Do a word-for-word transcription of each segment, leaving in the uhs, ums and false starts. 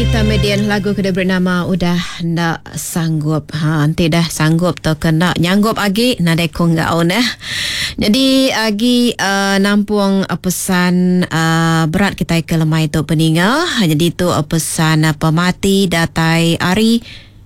Ita Median lagu ke diberi nama Udah Enda Sanggup. Ha, enti dah sanggup tau ke enda nyanggup agi nadai ko enggau neh. Jadi agi uh, nampung uh, pesan uh, berat kita ke lemai tu peninga. Jadi tu uh, pesan uh, pemati datai ari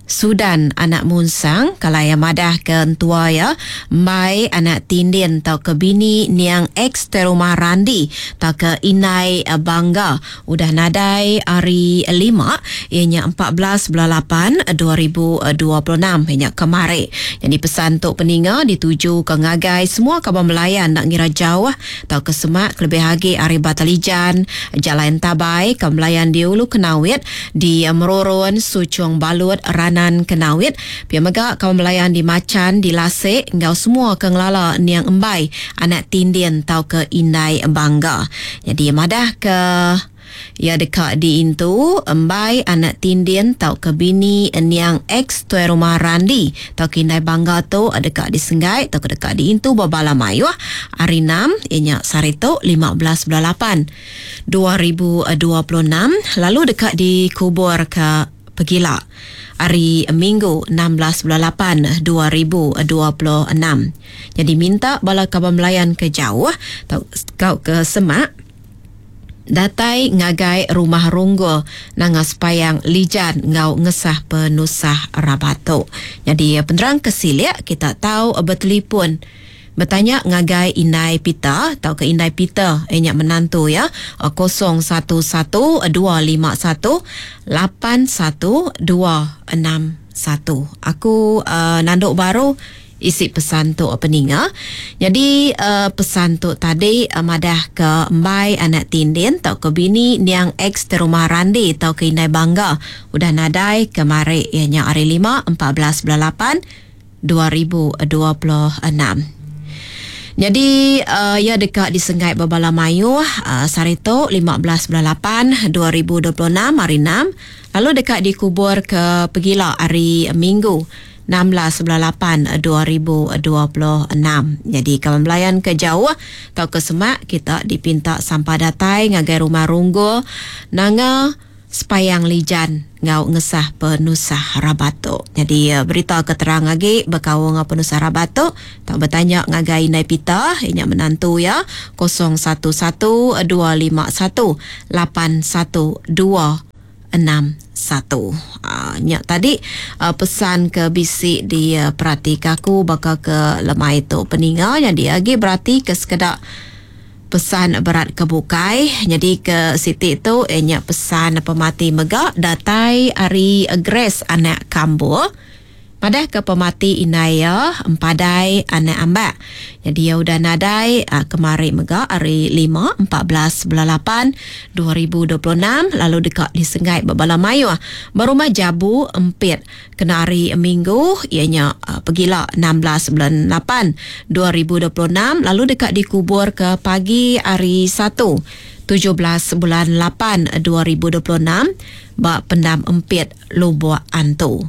Sudan anak Munsang kalau yang madah ke entua ya mai anak Tindin tau ke bini niang ex terumah Randi tau ke Inai Bangga udah nadai hari lima ianya empat belas bulan lapan dua ribu dua puluh enam ianya kemari. Jadi pesan tu peninga dituju ke ngagai semua kaban Melayan nak ngira jauh tau ke semak kelebih lagi hari Batalijan, Jalan Tabai, kaban Melayan di Ulu Kenawit, di Merurun, Suchung Balut, Ran Nan Kenawit, pia mega kaum Melayan di Macan, di Lasik, enggau semua ke ngelala niang embai anak Tindin tau ke Indai Bangga. Jadi madah ke ia dekat diintu embai anak Tindin tau ke bini niang ex tuai rumah Randi tau ke Indai Bangga tu dekat disenggai tau ke dekat diintu babala mayuh hari enam ianya sehari tu lima belas bulan lapan dua ribu dua puluh enam lalu dekat dikubur ke Pegila hari Minggu enam belas bulan lapan dua ribu dua puluh enam. Jadi minta bala kaban Melayan ke jauh tau kau ke semak datai ngagai rumah Runggo nanga sepayang Lijan ngau ngesah penusah rabatuk. Jadi penerang kesilik kita tahu bertelefon bertanya ngagai Indai Peter atau ke Indai Peter ianya menantu ya kosong satu satu dua lima satu lapan satu dua enam satu. Aku uh, nanduk baru isi pesan tu peninga. Jadi uh, pesan tu tadi uh, madah ke embai anak Tindin atau ke bini niang ex terumah Randi atau ke Indai Bangga udah nadai kemari ianya hari lima empat belas bulan lapan dua ribu dua puluh enam. Jadi uh, ia dekat disenggai berbala mayuh uh, sehari tu lima belas bulan lapan dua ribu dua puluh enam hari enam lalu dekat dikubur ke Pegila hari Minggu enam belas bulan lapan dua ribu dua puluh enam. Jadi kawan belayan ke jauh atau ke semak kita dipinta sampah datai ngagai rumah Runggo nanga sepayang Lijan ngau ngesah penusah rabatuk. Jadi berita keterang lagi berkaul ngau penusah rabatuk tak bertanya ngagai Indai Pita inya menantu ya kosong satu satu dua lima satu lapan satu dua enam satu. Ah, nyak tadi uh, pesan ke bisi di uh, perhati kaku bakal ke lemai tu peninga yang dia lagi berarti ke sekedak pesan berat ke bukai. Jadi ke Siti tu eh, pesan pemati mega datai ari Grace anak Kambur. Padah ke pemati Inaya empadai anak ambak. Jadi ya udah nadai uh, kemari mega hari lima empat belas bulan lapan dua ribu dua puluh enam lalu dekat disenggai berbala mayuh. Berumah Jabu Empit kena hari Minggu ianya uh, pegila enam belas bulan lapan dua ribu dua puluh enam lalu dekat dikubur ke pagi hari satu tujuh belas bulan lapan dua ribu dua puluh enam bak pendam Empit Lubuk Antu.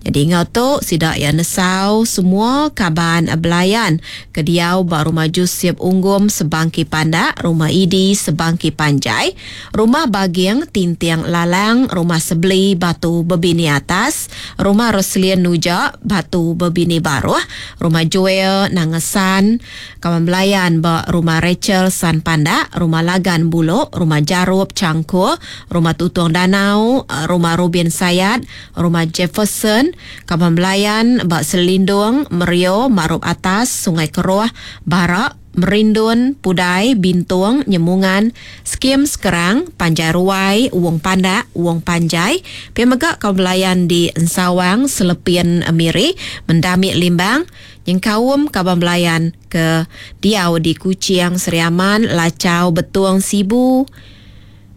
Jadi ngau tu sidak ya nesau semua kaban belayan ke diau bak rumah Jusip Unggum Sebangki Pandak, rumah Idi Sebangki Panjai, rumah Bagiang Tintiang Lalang, rumah Sebeli Batu Bebini Atas, rumah Roslien Nuja Batu Bebini Baruh, rumah Joel Nangesan, kawan belayan bak rumah Rachel San Pandak, rumah Lagan Bulok, rumah Jarup Cangkur, rumah Tutung Danau, rumah Rubin Sayat, rumah Jefferson, kaban belayan bak Selindung, Merio, Marup Atas, Sungai Keruah, Barak, Merindun, Pudai, Bintung, Nyemungan, Skim Sekerang, Panjai Ruai, Wong Pandak, Wong Panjai, pia mega kaum belayan di Ensawang, Selepin Miri, Mendamik Limbang, yang kaum kaban belayan ke Diau di Kuching, Seriaman, Lacau, Betuang, Sibu,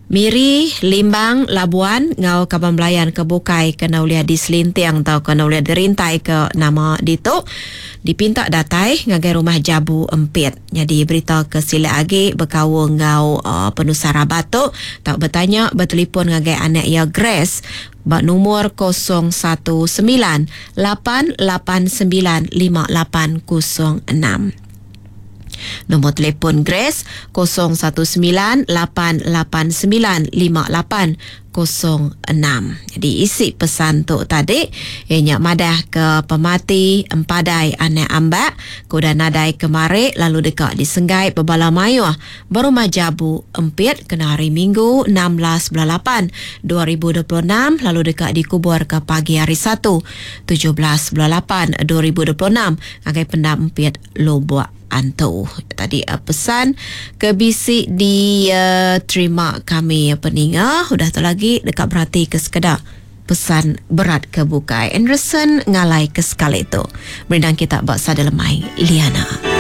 Miri, Limbang, Labuan, ngau kaban belayan ke Bukai kena uliah di Selintiang atau kena uliah dirintai ke nama ditu dipinta datai ngagai rumah Jabu Empit. Jadi berita ke sila agi berkaul ngau uh, penusah rabatuk tak bertanya bertelefon ngagai anak ya Grace bak nomor kosong satu sembilan lapan lapan sembilan lima lapan kosong enam. Nombor telefon Grace kosong satu sembilan lapan lapan sembilan lima lapan kosong enam. Jadi isi pesan tu tadi ianya madah ke pemati empadai anak ambak kuda nadai kemari lalu dekat disenggai bebala mayuh berumah jabu empit kena hari Minggu enam belas bulan lapan dua ribu dua puluh enam lalu dekat dikubur ke pagi hari Satu tujuh belas bulan lapan dua ribu dua puluh enam agai pendam empit Lubuk Antu. Tadi uh, pesan ke bisi diterima uh, kami peninga. Udah tu lagi dekat berhati ke sekedak pesan berat ke bukai. Anderson ngalai ke sekali tu. Berindang kita bak sada lemai Liana.